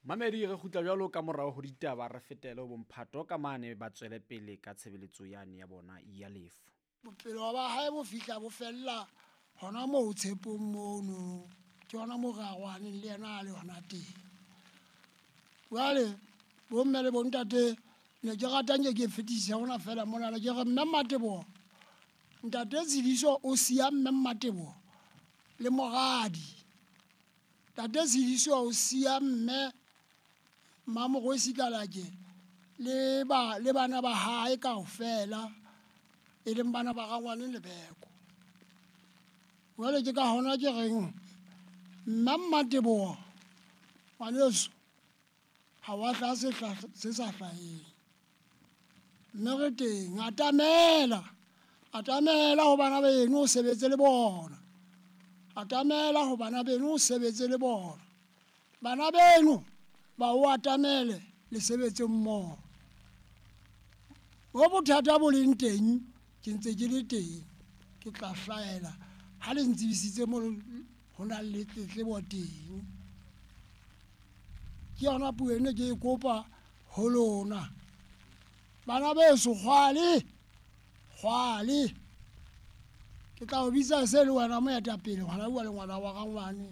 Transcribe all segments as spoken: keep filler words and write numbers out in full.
Mamedi re kgutla jwalo ka morao ho ditaba, re fetele ho bomphato ka mane ba tswele pele ka tshebeletso yane ya bona ya lefu. Bophelo ba hae bo fihla bo fella hona moo tshepong mono, ke hona moo re arohaneng le yena a le hona teng. Jwale bomme le bontate ne ke rata nke ke fetise hona fela mona, ke re mme Mmateboho, ntate Tshidiso o siya mme Mmateboho le moradi. Ntate Tshidiso o siya mme Mmamorwesi Kalake le ba le bana ba hae kaofela, e leng bana ba rangwane Lebeko. Jwale ke ka hona ke reng mme Mmateboho ngwaneso, ha wa hlaha se sa hlaheng, mme re teng, atamela, atamela ho bana beno o sebetse le bona, atamela ho bana beno o sebetse le bona, bana beno ba o atamele le sebetse mmoho. Mo bothata bo leng teng ke ntse ke le teng, ke tla hlahela ha le ntsebisitse mo ho nang le tletlebo teng. Ke yona puo ene ke e kopa ho lona bana beso. Kgwale, kgwale ke tla o bitsa se le wena moetapele, ngwana bua le ngwana wa rangwane,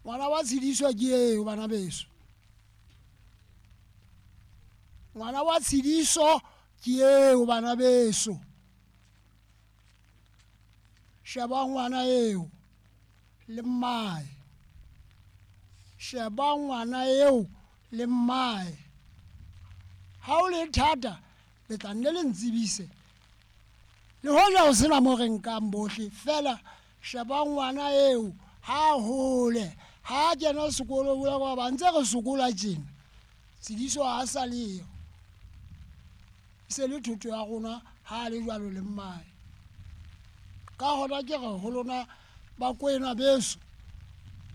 ngwana wa Tshidiso ke eo bana beso, ngwana wa Tshidiso ke eo bana beso. Sheba ngwana eo le mmae, sheba ngwana eo le mmae. Ha o le thata le tla nne le ntsebise, le hoja ho sena mo re nkang bohle fela. Sheba ngwana eo ha hole, ha kena sekolo ba ba ntse re sokola tjena, Tshidiso ha sa leyo, e se le thoto ya rona ha le jwalo le mmae. Ka hona ke re ho lona bakwena beso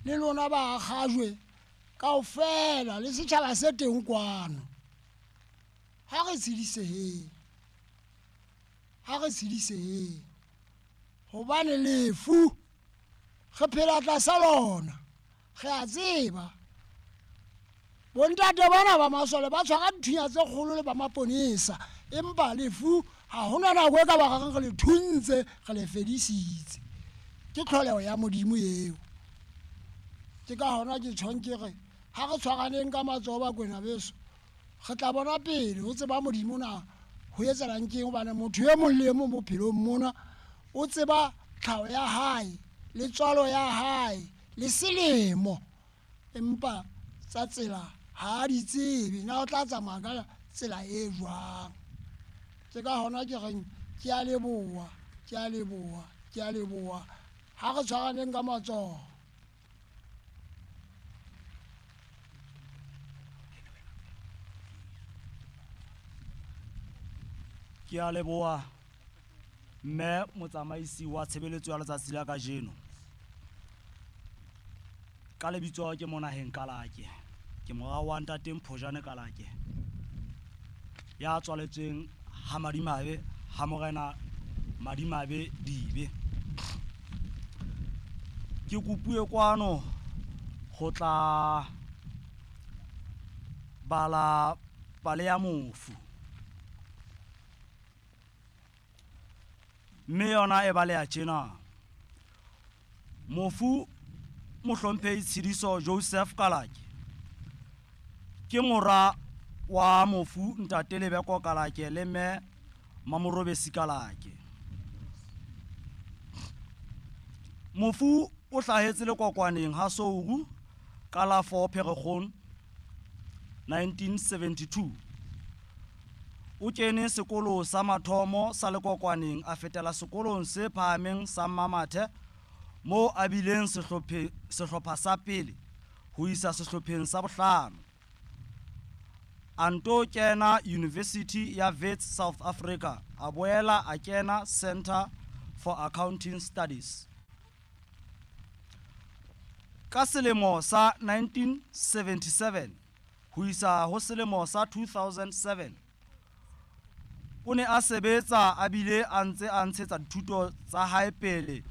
le lona ba akgajwe kaofela le setjhaba se teng kwano, ha re tshediseheng, ha re tshediseheng, hobane lefu re phela tlasa lona, re a tseba. Bontate bana ba masole ba tshwara dithunya tse kgolo le ba maponesa, empa lefu ha hona nako e ka ba reng re le thuntse, re le fedisitse. Ke tlholeho ya Modimo eo. Ke ka hona ke tjhong ke re ha re tshwaraneng ka matsoho bakwena beso, re tla bona pele ho tseba Modimo na ho etsahalang keng, hobane motho e mong le e mong bophelong mona o tseba tlhaho ya hae le tswalo ya hae le selemo, empa tsa tsela ha di tsebe na o tla tsamaya ka tsela e jwang. Ke ka hona ke reng ke a leboha, ke a leboha, ke a leboha. Ha re tshwaraneng ka matsoho. Ke a leboha mme motsamaisi wa tshebeletso ya letsatsi la kajeno. Ka lebitso ke Monaheng Kalake, ke mora wa ntate Mphojane Kalake, ya tswaletsweng ha Madimabe ha morena Madimabe Dibe. Ke kopuwe kwano ho tla bala pale ya mofu, mme yona e baleha tjena. Mofu mohlomphehi Tshidiso Joseph Kalake ke mora wa mofu ntate Lebeko Kalake le mme Mamorobesi Kalake. Mofu o hlahetse Lekokwaneng ha Souru ka la four Pherekgong nineteen seventy-two. O kene sekolo sa mathomo sa Lekokwaneng, a fetela sekolong se phahameng sa Mamathe moo a bileng sehlopha sa pele ho isa sehlopheng sa bohlano. A nto kena University ya Wits South Africa, a boela a kena Center for Accounting Studies. Ka selemo sa nineteen seventy-seven ho isa ho selemo sa two thousand seven o ne a sebetsa a bile a ntse a ntshetsa dithuto tsa hae pele